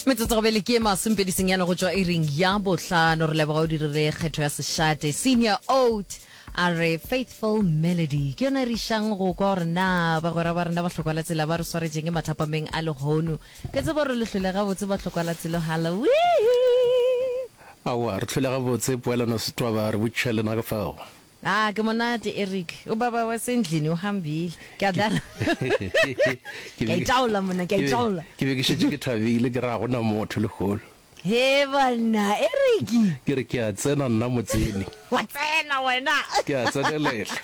Metsotso gobele ke e masomepedi senyane go tšwa iring ya bohlano. Re leboga o dirile kgetho ya sešate. Senior Oat a re Faithful Melody ke yona e re išang go kwa gore na bagwera ba rena ba hlokwalatsela ba re swaretšeng mathapameng a lehono. Ke tseba gore le hlole gabotse ba hlokwalatselo. Halloween! Aowa, re hlole gabotse, Poelano Setwaba, re botšiša lena ka fao. Ah, ke monate Eric. Ubaba wasendlini uhambile. Ke a dlala. Ke a itaola monna, ke a itaola. Ke be ke šetše ke thabile ke re ga gona motho lehono. He banna, Eric. Ke re ke a tsena nna motseni. Wa tsena wena. Ke a tsenelela.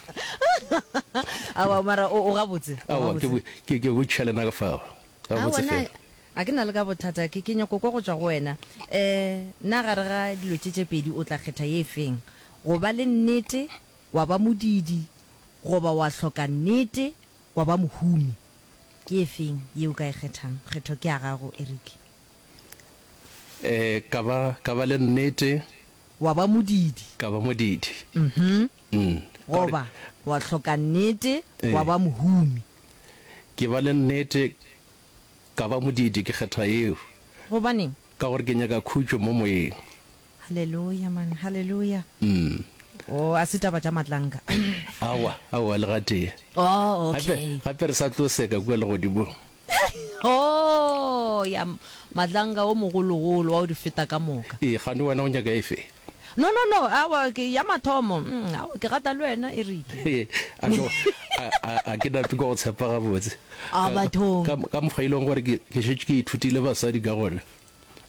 Aowa mara o o gabotse. Aowa ke ke ke botšiša lena ka fao. Gabotse fela. A ke na le ka bothata ke ke nyako kwa go tšwa go wena. Eh, na gare ga dilo tše tše pedi o tla kgetha ye feng? Go ba le nnete wa ba modiidi goba wa hloka nnete wa ba mohumi? Ke efeng ye o ka e kgethang? Kgetho ke ya gago, Eric. Ee, ka ba, ka ba le nnete. Wa ba modiidi. Ka ba modiidi. Mhm. Mm. Goba wa hloka nnete wa ba mohumi. Ke ba le nnete, ka ba modiidi, ke kgetha yeo. Gobaneng? Ka gore ke nyaka khutšo mo moyeng. Haleluya man, haleluya. Mm. Oh, a se taba tša matlanka. Aowa, aowa, le gatee. Oh, okay. Gape, gape re sa tlo seka kua legodimong. Oh, ya, matlanka o mogologolo wa o di feta ka moka. Ee, kgane wena o nyaka efe? No, no, no, aowa, ke ya mathomo. Mm, aowa, ke rata le wena, Eric. A ke, a, a, a ke nape ke go tshepa gabotse. A bathong. Ka, ka mokgwa e leng gore ke, ke šetše ke ithutile basadi ka gona.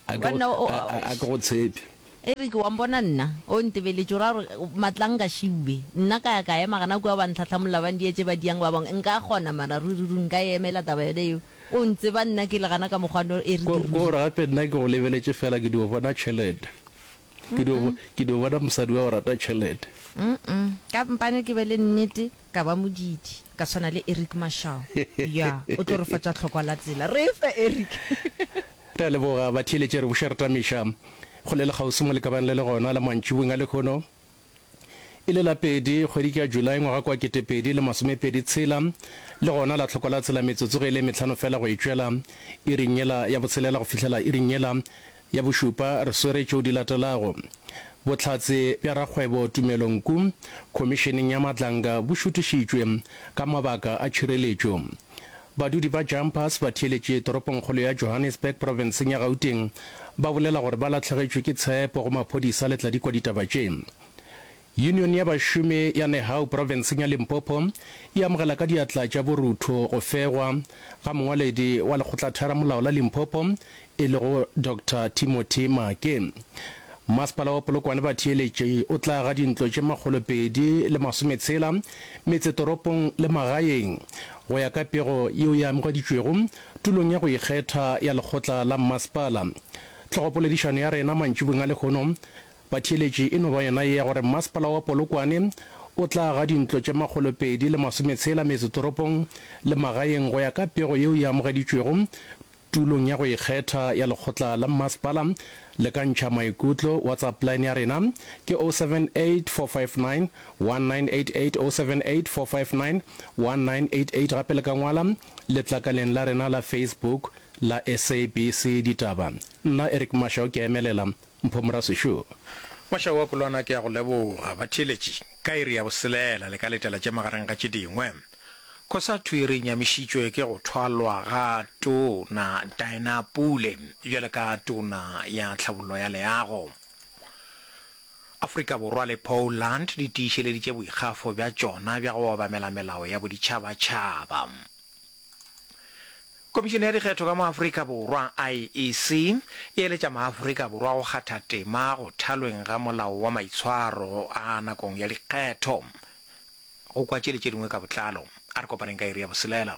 A ke go, a, a ke go tshepe. Eric, wa mpona nna? O ntebeletše, o ra gore Matlanka šiwe. Nna ka ya ka ema gana kua ba ntlhahlamolola ba ndietše ba diang ba bangwe. Nka kgona mara ruri ruri nka e emela taba yona yeo. O ntseba nna ke le gana ka mokgwa no Eric Ko, ruri. ko gore gape nna ke go lebeletše fela ke dio bona tšhelete. Ke dio, ke dio bona mosadi wa go rata tšhelete. Ka mpane ke be le nnete. Ka ba modiidi, ka swana le Eric Mashau. Ya, o tlo re fa tša tlhokwa la tsela. Re fe, Eric. Re a leboga batheeletši re buša re tamiša kgole le kgauswi mo le ka bang le le gona la mantšiboeng a lehono e le la pedi kgwedi ke ya July ngwaga kwa 2026 le gona la tlhokwa la tsela metsotso ge e le mehlano fela go e tšwela iring yela ya botshelela go fihlela iring yela Ya bošupa, re swere tšeo di latelago. Bohlatse bja rakgwebo Tumelo Nku Khomišeneng ya Madlanga bo šutišitšwe ka mabaka a tšhireletšo. Badudi ba Jumpers ba theeletše toropongkgolo ya Johannesburg profenseng ya Gauteng ba bolela gore ba lahlegetšwe ke tshepo go maphodisa le tladikwa ditaba tše. Yunione ya bašomi ya Nehau profenseng ya Limpopo e amogela ka diatla tša borutho go fegwa ga mongwaledi wa lekgotlatheramolao la Limpopo e lego Doctor Timothy Maake. Masepala wa Polokwane batheeletši o tla aga dintlo tše 260 metsetoropong le magaeng go ya ka pego yeo e amogeditšwego tulong ya go ikgetha ya lekgotla la mmasepala. Tlhogopoledišano ya rena mantšibong a lehono Batheeletši e no ba yona ye ya gore Masepala wa Polokwane o tla aga dintlo tše 260 metsetoropong le magaeng go ya ka pego yeo e amogeditšwego tulong ya go ikgetha ya lekgotla la mmasepala. Le ka ntšha maikutlo WhatsApp line ya rena ke 078 459 1988, 078 459 1988, gape le ka ngwala letlakaleng la rena la Facebook la SABC Ditaba. Nna Eric Mashau ke a emelela. Mpho Morasešo. Mošaa wa Kolwana ke a go leboga. Batheeletši, ka iri ya boselela le ka letela tše magareng ga tše dingwe. Cosatu e re nyamišitšwe ke go thwalwa ga Tona Dinah Pule bjalo ka Tona ya Tlhabollo ya Leago. Afrika Borwa le Poland di tiišeleditše boikgafo bja tšona bja go obamela melao ya boditšhabatšhaba. Komišene ya Dikgetho ka mo Afrika Borwa, IEC, e eletša maAfrika Borwa go kgatha tema go thalweng ga molao wa maitshwaro a nakong ya dikgetho. Go kwa tše le tše dingwe ka botlalo, a re kopaneng ka iri ya boselela.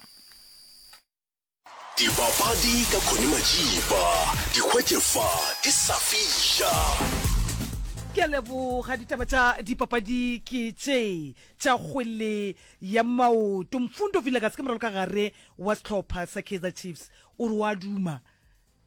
Dipapadi ka Connie Majiba, di hwetše fa di sa fiša. Ke a leboga. Ditaba tša dipapadi ke tše tša kgwele ya maoto. Mfundo Vilakazi ke moralokagare wa sehlopha sa Kaizer Chiefs o re o a duma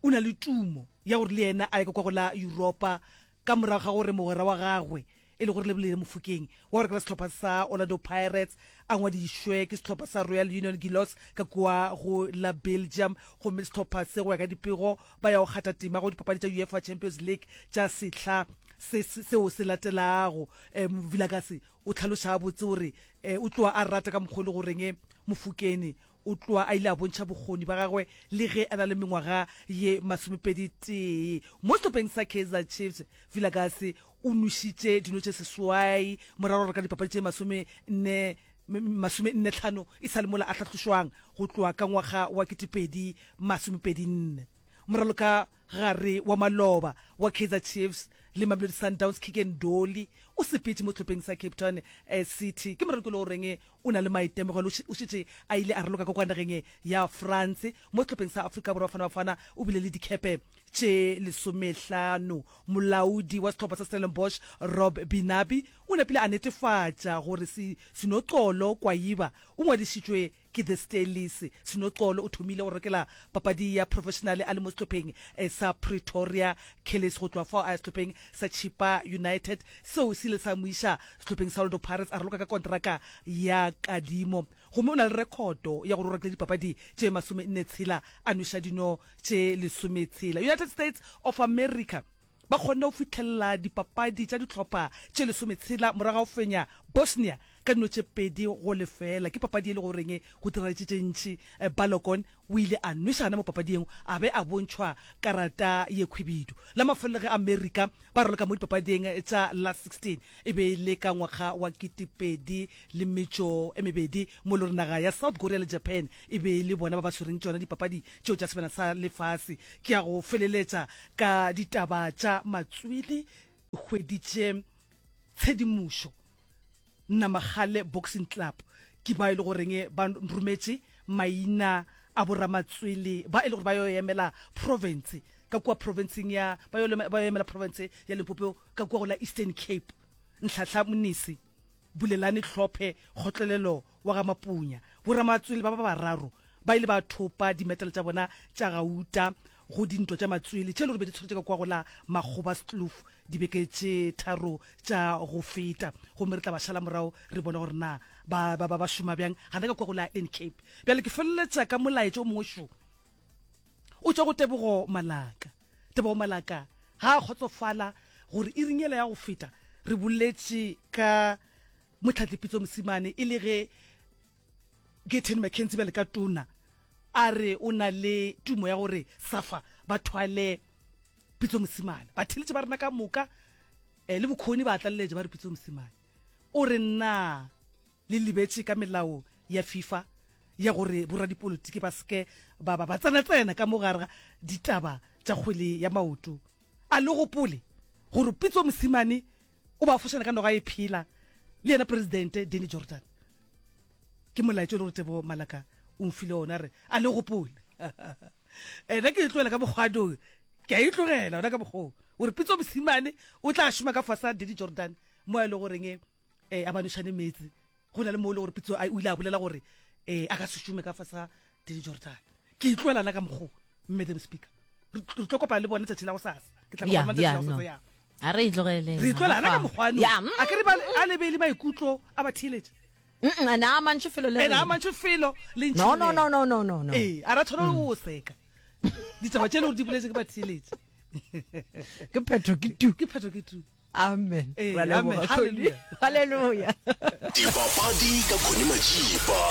o na le tumo ya gore le yena a ye ka kwa go la Yuropa ka morago ga gore mogwera wa gagwe. e le gore Lebelele Mofokeng wa go rekela sehlopha sa Orlando Pirates a ngwadišwe ke sehlopha sa Royal Union Gillois ka kua go la Belgium gomme sehlopha se go ya ka dipego ba ya go kgatha tema go dipapadi tša UEFA Champions League tša sehla se seo se latelago. Um Vilakazi o hlaloša gabotse gore o tloga a rata ka mokgwa o le goreng Mofokeng O tloga a ile a bontšha bokgoni ba gagwe le ge a na le mengwaga ye masomepeditee. Mo sehlopheng sa Kaizer Chiefs, Vilakazi o nwešitše dino tše seswai morago ga go reka dipapadi tše masomenne masomennetlhano e sa le mola a hlahlošwang go tloga ka ngwaga wa 2024. Moraloka gare wa maloba wa Kaizer Chiefs le Mamelodi Sundowns Keagan Dolly o sepetše mo sehlopheng sa Cape Town City. Ke moraloki o le goreng O na le maitemogelo, o šetše a ile a raloka ka kwa nageng ya France. Mo sehlopheng sa Afrika Borwa, Bafana Bafana, o bile le dikepe tše lesomehlano. Molaodi wa sehlopha sa Stellenbosch, Rob Binabi, o napile a netefatša gore Sinoxolo Kwayiba o ngwadišitšwe ke The Stellies. Sinoxolo o thomile go rokela papadi ya professionale a le mo sehlopheng sa Pretoria Callies, go tloga fao a ya sehlopheng sa Chippa United seo se ile sa mo iša sehlopheng sa Orlando Pirates a raloka ka konteraka ya kadimo gomme o na le rekhoto ya gore o rakile dipapadi tše masomenne-tshela a nweša dino tše lesometshela. United States of America ba kgonne go fihlelela dipapadi tša dihlopha tše lesometshela morago ga go fenya Bosnia ka dino tše 2-0. Ke papadi e le goreng go diragetše tše ntši. Balogun o ile a nweša gana mo papading a be a bontšhwa karata ye khwibidu. La mafelelo ge Amerika ba raloka mo dipapading tša Last 16 e be e le ka ngwaga wa 2002 mo e le gore naga ya South Korea le Japan e be e le bona ba ba swereng tšona dipapadi tšeo tša Sebjana sa Lefase. Ke ya go feleletša ka ditaba tša matswele. Hweditše tshedimošo Namagale Boxing Club ke ba e le goreng ba rometše maina a boramatswele ba e le gore ba yo emela province ka kua provinceng ya ba yo ba yo emela province ya Limpopo ka kua go la Eastern Cape. Nhlahla Mnisi, Bulelani Hlophe, Kgotlelelo wa ga Mapunya. Boramatswele ba ba bararo ba ile ba thopa dimetale tša bona tša gauta go dintwa tša matswele tše e le gore be di tshwaretše ka kua go la Makgobaskloof dibeke tše tharo tša go feta. Gomme re tla ba šala morago re bone gore na ba, ba, ba, ba šoma bjang gana ka kua go la N-Cape. Bjale ke feleletša ka molaetša o mongwe šo o tšwa go Tebogo Malaka. Tebogo Malaka ga a kgotsofala gore iring yela ya go feta re boletše ka Motlhatli Pitso Mosimane e le ge Gayton McKenzie bjale ka tona a re o na le tumo ya gore SAFA ba thwale Pitso Mosimane. Batheeletši ba rena ka moka eh, le bokgoni ba tlaleletša ba re Pitso Mosimane. O re na le lebetše ka melao ya FIFA ya gore boradipolotiki ba seke ba ba ba tsena-tsena ka mo gare ga ditaba tša kgwele ya maoto. A le gopole gore Pitso Mosimane o ba fošana ka noga e phela le yena Presidente Danny Jordaan. Ke molaetša o le gore Tebogo Malaka o mfile ona re a le gopole. Ena ke e tlogela ka mokgwa ke a e tlogela ona ka mokgwa o re Pitso Mosimane o tla šoma ka fase ga Danny Jordaan mo a e le goreng eh, a ba nošane meetse. Go na le mo e le gore Pitso o ile a bolela gore eh, a ka se šome ka fase ga Danny Jordaan. Ke e tlogela na ka mokgwa Madam Speaker. Re tlo kopana le bone tšatši la go sasa. Ke tla kopana tšatši la go sasa ya. A re e tlogeleng. Re tlogela na ka mokgwa no. A ke re ba a lebele maikutlo a ba theeletše. Mm ena a mantši felo le. Ena a mantši felo le ntši. No no no no no no no. Eh, a ra tshwana o seka. Ditaba tše le gore di boletse ke ba theeletše. Ke phetho ke tu. Ke phetho ke tu. Amen. Ee, Ra leboga, amen. Connie. Hallelujah. Hallelujah. Dipapadi ka Connie Majiba,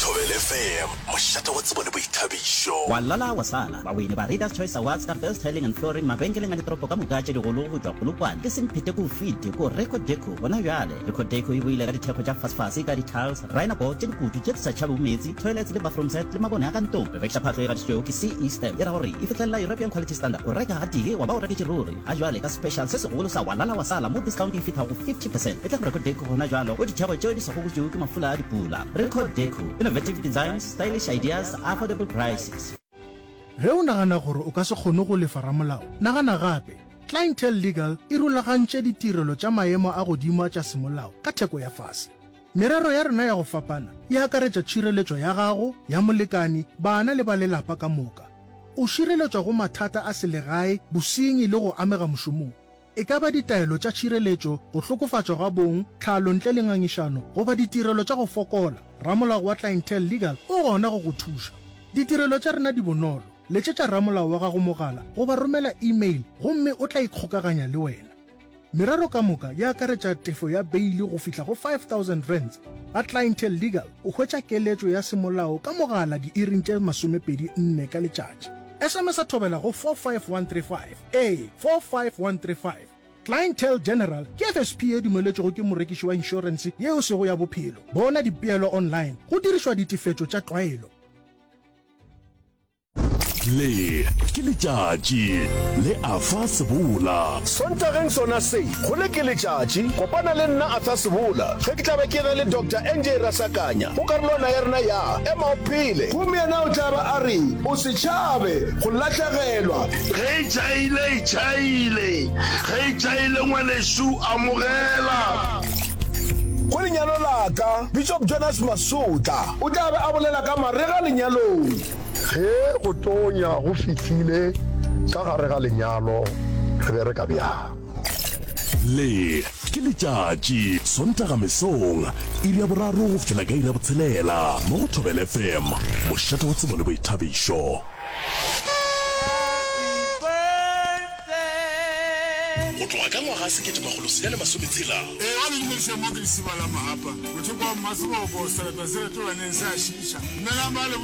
Thobela FM, mošate wa tsebo le boithabišo. Wa lala wa sala. Bawini ba Readers Choice Awards ka Best Tiling and Flooring mabenkeleng a ditoropo ka moka tše digolo go tšwa Polokwane ke Semphete ko Fiti ko Record Deco gona bjale. Record Deco e boile ka dithekgo tša fasefase ka di-tiles, rhino-board tše dikutu tše di sa tšhabego meetse, toilets le bathroom set le mabone a ka ntlong. Re rekiša phahlo e gatišitšwego ke CE Stamp e ra gore e fihlelela European Quality Standard. O reka gatee wa ba o reketše ruri. Ga jwale ka special se segolo sa wa lala wa sala mo discount e fihla go 50 percent. Etla go Record Deco gona jwalo go ditheko tšeo di sa gokotšwego ke mafula a dipula. Record Deco, innovative designs, stylish ideas, affordable prices. Ge o nagana gore o ka se kgone go lefa ramolao, nagana gape. Clientele Legal e rulagantše ditirelo tša maemo a godimo tša semolao ka theko ya fase. Merero ya rena ya go fapana e akaretša tšhireletšo ya gago, ya molekani, bana le ba lelapa ka moka. O šireletšwa go mathata a selegae, bosenyi le go amega mošomong. E ka ba ditaelo tša tšhireletšo, go hlokofatšwa ga bong, tlhalo ntle le ngangišano, goba ditirelo tša go fokola, ramolao wa Clientele Legal o gona go go thuša. Ditirelo tša rena di bonolo. Letšetša ramolao wa gago mogala goba romela email gomme o tla ikgokaganya le wena. Merero ka moka e akaretša tefo ya beili go fihla go R5000. Ga Clientele Legal o hwetša keletšo ya semolao ka mogala diiring tše 24 ka letšatši. SMS-a thobela go 45135. Ee, 45135. Clientele General ke FSP ye dumeletšwego ke morekiši wa inšorense ye e sego ya bophelo. Bona dipeelo online go dirišwa ditefetšo tša tlwaelo. Le ke letšatši le Arthur Sebola. Sontageng sona se, go le ke letšatši, kopana le nna Arthur Sebola ge ke tla be ke na le Doctor NJ Rasakanya go karolwana ya rena ya Ema o Phele. Gomme yena o tla ba a re, O se tšhabe go lahlegelwa. Ge e tšhaile, e tšhaile. Ge e tšhaile, ngwanešu, amogela. Go lenyalo la ka, Bishop Jonas Masotla o tla be a bolela ka marega lenyalong. Ge go tonya go fihlile ka gare ga lenyalo, re bereka bjang? Le ke letšatši, Sontaga mesong, iri ya boraro go fihlela ka iri ya botshelela, mo go Thobela FM, mošate wa tsebo le boithabišo. Go tloga ka ngwaga 1960. Ee, ba le dumediša mo ke Lesiba la Mahapa, mothoko wa Mmaseboko, sereto se retolwaneng se a šiiša. Dumelang ba leboa.